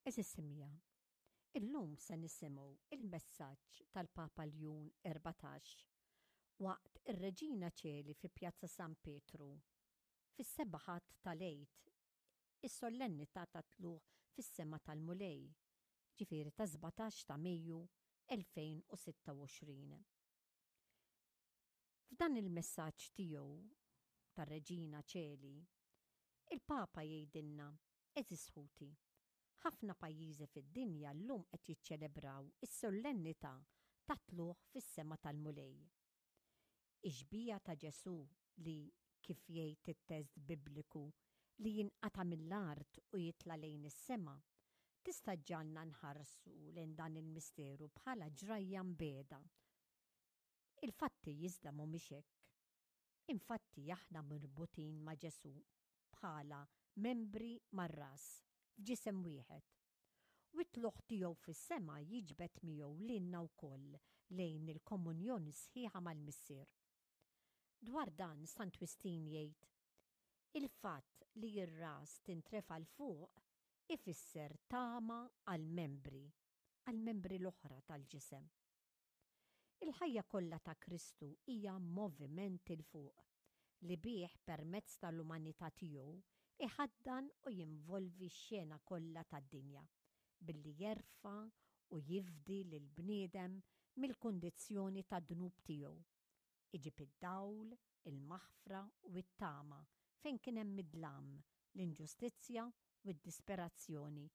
Għeżież semmiegħa, illum se nisimgħu il-messaġġ tal-Papa Ljun 14 waqt ir-Reġina Ċeli fi Pjazza San Pietru fis-seba' Ħadd tal-Għid, is-sollennità tat-Tlugħ fis-Sema tal-Mulej, jiġifieri tas-17 ta' Mejju 2026. F'dan il-messaġġ tiegħu tar-Reġina Ċeli, il-Papa jgħidilna, Għeżież ħuti, ħafna pajjiżi fid-dinja llum qed jiċċelebraw is-sollennità tat-Tlugħ fis-Sema tal-Mulej. Ix-xbieha ta' Ġesù li, kif jgħid it-test Bibliku, li jinqata' mill-art u jitla' lejn is-sema, tista' ġġagħalna nħarsu lejn dan il-misteru bħala ġrajja mbiegħda. Il-fatti iżda mhumiex hekk. Infatti aħna mirbutin ma' Ġesù bħala membri mar-ras f'ġisem wieħed. U t-tlugħ tiegħu fis-sema jiġbed miegħu lilna wkoll lejn il-komunjoni sħiħa mal-Missier. Dwar dan Sant Wistin jgħid, Il-fatt li r-ras tintrefa' 'l fuq ifisser tama għall-membri, għall-membri l-oħra tal-ġisem. Il-ħajja kollha ta' Kristu hija moviment 'il fuq, li bih permezz tal-umanità tiegħu iħaddan u jinvolvi x-xena kollha tad-dinja, billi jerfa' u jifdi lill-bniedem mill-kundizzjoni tad-dnub tiegħu Iġib id-dawl, il-maħfra u t-tama fejn kien hemm id-dlam, l-inġustizzja u d-disperazzjoni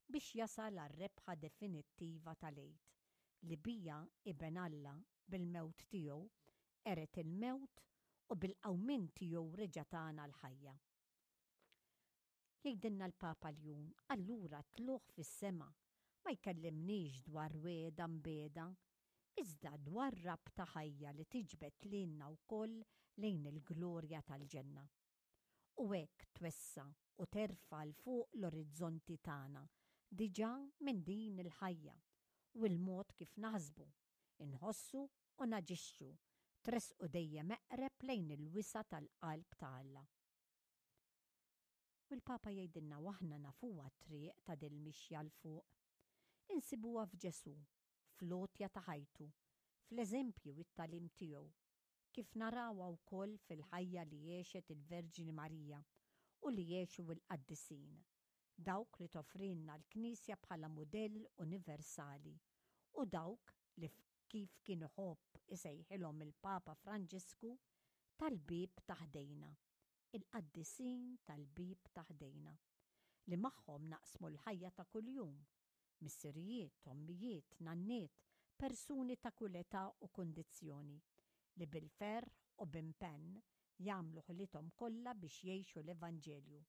biex jasal għar-rebħa definittiva tal-Għid, li biha Iben Alla, bil-mewt tiegħu, qered il-mewt u bil-qawmien tiegħu reġa' tana l-ħajja. Jgħidilna l-Papa Ljun, allura t-tlugħ fis-sema ma jkellimniex dwar wegħda mbiegħda, iżda dwar rabta ħajja li tiġbed lilna wkoll lejn il-glorja tal-ġenna. U hekk twessa' u terfa' 'l fuq l-orizzonti tagħna diġà minn din il-ħajja u l-mod kif naħsbu, inħossu u naġixxu tressqu dejjem eqreb lejn il-wisa' tal-qalb ta' Alla. U l-Papa jgħidilna u aħna nafuha t-triq ta' dil-mixja 'l fuq. Insibuha f'Ġesù, fl-għotja ta' ħajtu, fl-eżempji u t-tagħlim tiegħu, kif narawha wkoll fil-ħajja li għexet il-Verġni Marija u li għexu l-qaddisin, dawk li toffrilna l-Knisja bħala mudell universali u dawk li kif kien iħobb isejħilhom il-Papa Franġisku, tal-bieb ta' ħdejna, il-qaddisin tal-bieb ta' ħdejna, li magħhom naqsmu l-ħajja ta' kuljum, missirijiet, ommijiet, nanniet, persuni ta' kull età u kundizzjoni, li bil-ferħ u b'impenn jagħmlu ħilithom kollha biex jgħixu l-Evanġelju.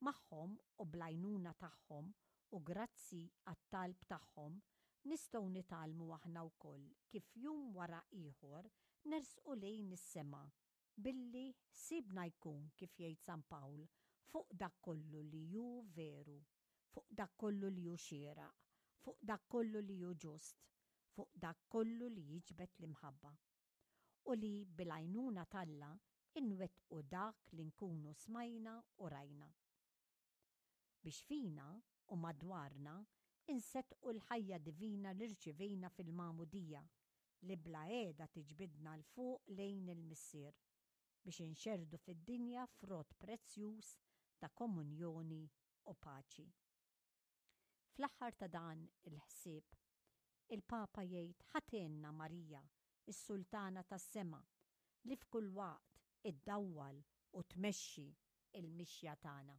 Magħhom u bl-għajnuna tagħhom u grazzi għat-talb tagħhom nistgħu nitgħallmu aħna wkoll kif jum wara ieħor nersqu lejn is-sema billi ħsiebna jkun, kif jgħid San Pawl, fuq dak kollu li hu veru, fuq dak kollu li hu xieraq, fuq dak kollu li hu ġust, fuq dak kollu li jiġbed l-imħabba. U li bil-għajnuna t'Alla inwettqu dak li nkunu smajna u rajna. Biex fina u madwarna inseddqu l-ħajja divina li rċivejna fil-Magħmudija li bla qiegħda tiġbidna 'l fuq lejn il-Missier biex inxerrdu fid-dinja frott prezzjuż ta' komunjoni u paċi. Fl-aħħar ta' dan il-ħsieb, il-Papa jgħid ħa tgħinna Marija, is-Sultana tas-Sema, li f'kull waqt iddawwal u tmexxi l-mixja tagħna.